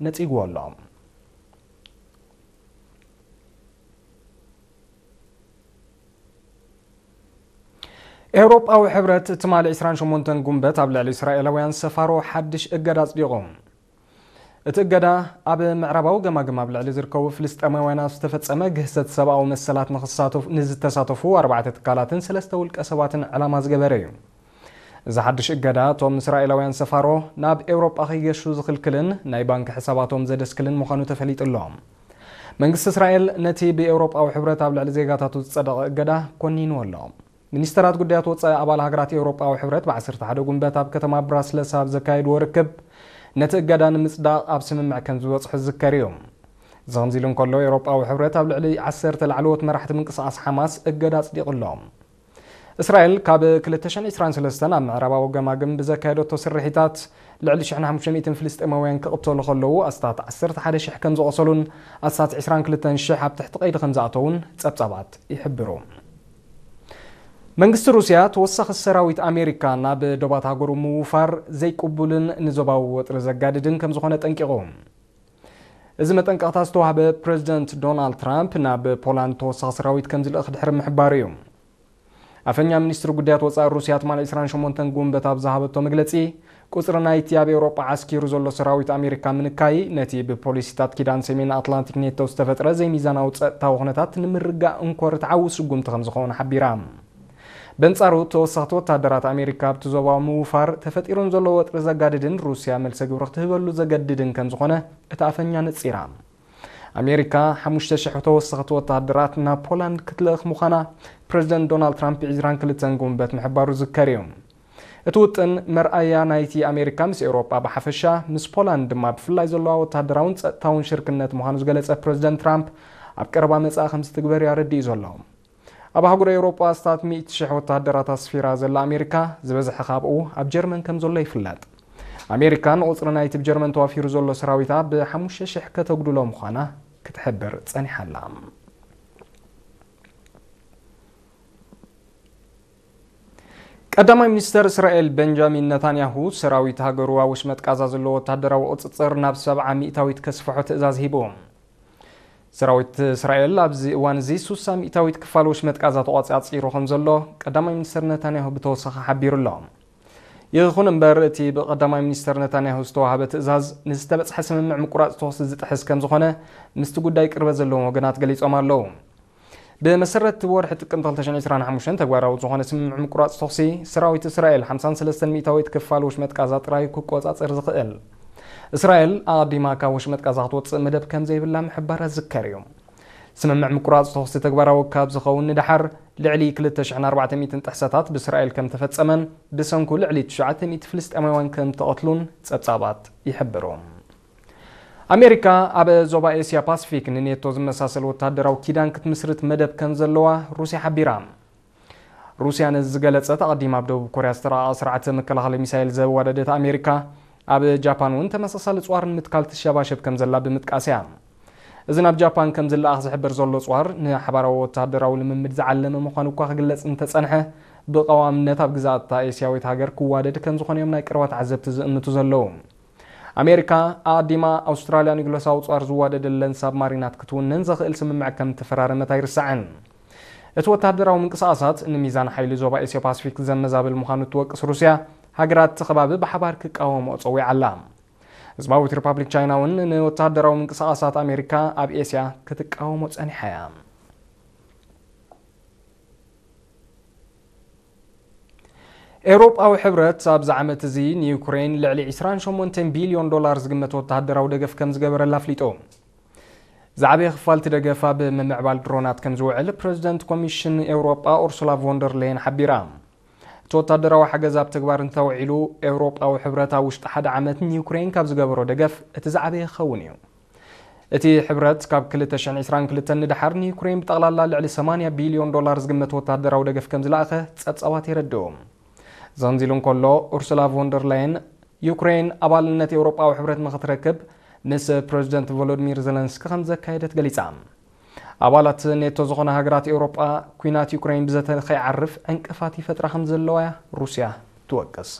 ነጺግዎ ኣሎ። ኤውሮጳዊ ሕብረት ትማሊ ዕስራን ሸሞንተን ጉንበት ኣብ ልዕሊ እስራኤላውያን ሰፋሮ ሓድሽ እገዳ ኣጽዲቑ። እቲ እገዳ ኣብ ምዕራባዊ ገማግም ኣብ ልዕሊ ዝርከቡ ፍልስጤማውያን ኣብ ዝተፈጸመ ግህሰት ሰብኣዊ መሰላት ንኽሳተፉ፣ ንዝተሳተፉ ኣርባዕተ ትካላትን ሰለስተ ውልቀ ሰባትን ዕላማ ዝገበረ እዩ። እዚ ሓድሽ እገዳ እቶም እስራኤላውያን ሰፋሮ ናብ ኤውሮጳ ከይገሹ ዝኽልክልን ናይ ባንክ ሕሳባቶም ዘደስክልን ምዃኑ ተፈሊጡ ኣሎ። መንግስቲ እስራኤል ነቲ ብኤውሮጳዊ ሕብረት ኣብ ልዕሊ ዜጋታቱ ዝጸደቐ እገዳ ኮኒንዎ ኣሎ። ሚኒስተራት ጉዳያት ወጻኢ ኣባል ሃገራት ኤውሮጳዊ ሕብረት ብ ዓሰርተ ሓደ ጉንበት ኣብ ከተማ ብራስለስ ኣብ ዘካየድዎ ርክብ ነቲ እገዳ ንምጽዳቕ ኣብ ስምምዕ ከም ዝበጽሑ ዝዝከር እዩ። እዚ ከምዚ ኢሉ እንከሎ፣ ኤውሮጳዊ ሕብረት ኣብ ልዕሊ ዓሰርተ ላዕለዎት መራሕቲ ምንቅስቓስ ሓማስ እገዳ ኣጽዲቑ ኣሎ። እስራኤል ካብ ክልተ ሽሕን ዕስራን ሰለስተን ኣብ ምዕራባዊ ገማግም ብዘካየደቶ ስርሒታት ልዕሊ ሽሕን ሓሙሽተ ሚእትን ፍልስጤማውያን ክቕተሉ ከለዉ፣ ኣስታት ዓሰርተ ሓደ ሽሕ ከም ዝቖሰሉን ኣስታት ዕስራን ክልተን ሽሕ ኣብ ትሕቲ ቀይዲ ከም ዝኣተዉን ጸብጻባት ይሕብሩ። መንግስቲ ሩስያ ተወሳኺ ሰራዊት ኣሜሪካ ናብ ዶባት ሃገሩ ምውፋር ዘይቅቡልን ንዞባዊ ወጥሪ ዘጋድድን ከም ዝኾነ ጠንቂቑ። እዚ መጠንቀቕታ ዝተዋህበ ፕረዚደንት ዶናልድ ትራምፕ ናብ ፖላንድ ተወሳኺ ሰራዊት ከም ዝልእኽ ድሕሪ ምሕባሩ እዩ። ኣፈኛ ሚኒስትሪ ጉዳያት ወጻኢ ሩስያ ትማሊ ዕስራን ሸሞንተን ጉንበት ኣብ ዝሃበቶ መግለጺ፣ ቁጽሪ ናይቲ ኣብ ኤውሮጳ ዓስኪሩ ዘሎ ሰራዊት ኣሜሪካ ምንካይ ነቲ ብፖሊሲታት ኪዳን ሰሜን ኣትላንቲክ ኔቶ ዝተፈጥረ ዘይሚዛናዊ ጸጥታዊ ኩነታት ንምርጋእ እንኮ ርትዓዊ ስጉምቲ ከም ዝኾነ ሓቢራ። በንጻሩ፣ ተወሰኽቲ ወተሃደራት ኣሜሪካ ኣብቲ ዞባ ምውፋር ተፈጢሩ ንዘሎ ወጥሪ ዘጋድድን ሩስያ መልሰ ግብሪ ክትህበሉ ዘገድድን ከም ዝኾነ እታ ኣፈኛ ነጺራ። ኣሜሪካ ሓሙሽተ ሽሕ ተወሰኽቲ ወተሃደራት ናብ ፖላንድ ክትልእኽ ምዃና ፕረዚደንት ዶናልድ ትራምፕ ዕስራን ክልተን ጉንበት ምሕባሩ ዝከር እዩ። እቲ ውጥን መርኣያ ናይቲ ኣሜሪካ ምስ ኤውሮጳ ብሓፈሻ፣ ምስ ፖላንድ ድማ ብፍላይ ዘለዋ ወተሃደራውን ጸጥታውን ሽርክነት ምዃኑ ዝገለጸ ፕረዚደንት ትራምፕ፣ ኣብ ቀረባ መጻኢ ከም ዝትግበር እዩ ኣረዲኡ ዘሎ። ኣብ ኣህጉር ኤውሮጳ ኣስታት ሚእቲ ሽሕ ወተሃደራት ኣስፊራ ዘላ ኣሜሪካ፣ ዝበዝሐ ካብኡ ኣብ ጀርመን ከም ዘሎ ይፍለጥ። ኣሜሪካ ንቑጽሪ ናይቲ ብጀርመን ተዋፊሩ ዘሎ ሰራዊታ ብሓሙሽተ ሽሕ ከተጉድሎ ምዃና ክትሕብር ጸኒሓ ኣላ። ቀዳማይ ሚኒስተር እስራኤል በንጃሚን ነታንያሁ፣ ሰራዊት ሃገሩ ኣብ ወሽመጥ ቃዛ ዘለዎ ወተሃደራዊ ቁጽጽር ናብ ሰብዓ ሚእታዊት ከስፍሖ ትእዛዝ ሂቡ። ሰራዊት እስራኤል ኣብዚ እዋን እዚ ሱሳ ሚእታዊት ክፋል ወሽመጥ ቃዛ ተቋጻጺሩ ከም ዘሎ ቀዳማይ ሚኒስተር ነታንያሁ ብተወሳኺ ሓቢሩ ኣሎ። ይኹን እምበር፣ እቲ ብቀዳማይ ሚኒስተር ነታንያሁ ዝተዋህበ ትእዛዝ ንዝተበጽሐ ስምምዕ ምቁራጽ ተኹሲ ዝጥሕስ ከም ዝኾነ ምስቲ ጉዳይ ቅርበት ዘለዎም ወገናት ገሊጾም ኣለዉ። ብመሰረት ወርሒ ጥቅምቲ ክልተ ሽሕን ዕስራን ሓሙሽተን ተግባራዊ ዝኾነ ስምምዕ ምቁራጽ ተኹሲ፣ ሰራዊት እስራኤል ሓምሳን ሰለስተን ሚእታዊት ክፋል ወሽመጥ ቃዛ ጥራይ ክቆጻጸር ዝኽእል። እስራኤል ኣቐዲማ ካብ ወሽመጥ ቃዛ ክትወጽእ መደብ ከም ዘይብላ ምሕባራ ዝከር እዩ። ስምምዕ ምቁራጽ ተኹሲ ተግባራዊ ካብ ዝኸውን ንደሓር፣ ልዕሊ ክልተ ሽሕን ኣርባዕተ ሚእትን ጥሕሰታት ብእስራኤል ከም ተፈጸመን፣ ብሰንኩ ልዕሊ ትሽዓተ ሚእቲ ፍልስጤማውያን ከም ተቐትሉን ጸብጻባት ይሕብሩ። ኣሜሪካ ኣብ ዞባ ኤስያ ፓሲፊክ ንኔቶ ዝመሳሰል ወተሃደራዊ ኪዳን ክትምስርት መደብ ከም ዘለዋ ሩስያ ሓቢራ። ሩስያ ነዚ ዝገለጸት ኣቐዲማ ኣብ ደቡብ ኮርያ ዝተራቐቐ ስርዓተ መከላኸሊ ሚሳይል ዘዋደደት ኣሜሪካ፣ ኣብ ጃፓን እውን ተመሳሳሊ ጽዋር ንምትካል ትሸባሸብ ከም ዘላ ብምጥቃስ እያ። እዚ ናብ ጃፓን ከም ዝለኣኽ ዝሕበር ዘሎ ጽዋር፣ ንሓባራዊ ወተሃደራዊ ልምምድ ዝዓለመ ምዃኑ እኳ ክግለጽ እንተጸንሐ፣ ብቐዋምነት ኣብ ግዛእታ ኤስያዊት ሃገር ክዋደድ ከም ዝኾነ እዮም ናይ ቀረባ ተዓዘብቲ ዝእምቱ ዘለዉ። ኣሜሪካ ኣቐዲማ ኣውስትራልያ ንግሎሳዊ ጸዋር ዝዋደደለን ሳብማሪናት ክትውንን ዘኽእል ስምምዕ ከም እተፈራረመት ኣይርሳዕን። እቲ ወተሃደራዊ ምንቅስቓሳት ንሚዛን ሓይሊ ዞባ ኤስዮ ፓሲፊክ ዘመዛብል ምዃኑ እትወቅስ ሩስያ፣ ሃገራት እቲ ከባቢ ብሓባር ክቃወምኦ ጸዊዓ ኣላ። ህዝባዊት ሪፓብሊክ ቻይና እውን ንወተሃደራዊ ምንቅስቓሳት ኣሜሪካ ኣብ ኤስያ ክትቃወሞ ጸኒሓ እያ። ኤውሮጳዊ ሕብረት ኣብዚ ዓመት እዚ ንዩክሬን ልዕሊ ዕስራን ሸሞንተን ቢልዮን ዶላር ዝግመት ወተሃደራዊ ደገፍ ከም ዝገበረላ ኣፍሊጡ። ዝዓበየ ክፋል እቲ ደገፍ ኣብ ምምዕባል ድሮናት ከም ዝውዕል ፕረዚደንት ኮሚሽን ኤውሮጳ ኡርሱላ ቮንደር ሌየን ሓቢራ። እቲ ወታደራዊ ሓገዝ ኣብ ተግባር እንተውዒሉ፣ ኤውሮጳዊ ሕብረት ኣብ ውሽጢ ሓደ ዓመት ንዩክሬን ካብ ዝገበሮ ደገፍ እቲ ዝዓበየ ክኸውን እዩ። እቲ ሕብረት ካብ ክልተ ሽሕን ዕስራን ክልተን ንደሓር ንዩክሬን ብጠቕላላ ልዕሊ ሰማንያ ቢልዮን ዶላር ዝግመት ወታደራዊ ደገፍ ከም ዝለኣኸ ጸብጻባት የረድኡ። እዚ ከምዚ ኢሉ እንከሎ፣ ኡርሱላ ቮንደር ላየን ዩክሬን ኣባልነት ኤውሮጳዊ ሕብረት ንኽትረክብ ምስ ፕረዚደንት ቮሎዲሚር ዘለንስኪ ከም ዘካየደት ገሊጻ። ኣባላት ኔቶ ዝኾና ሃገራት ኤውሮጳ፣ ኲናት ዩክሬን ብዘተ ከይዓርፍ ዕንቅፋት ይፈጥራ ከም ዘለዋ እያ ሩስያ ትወቅስ።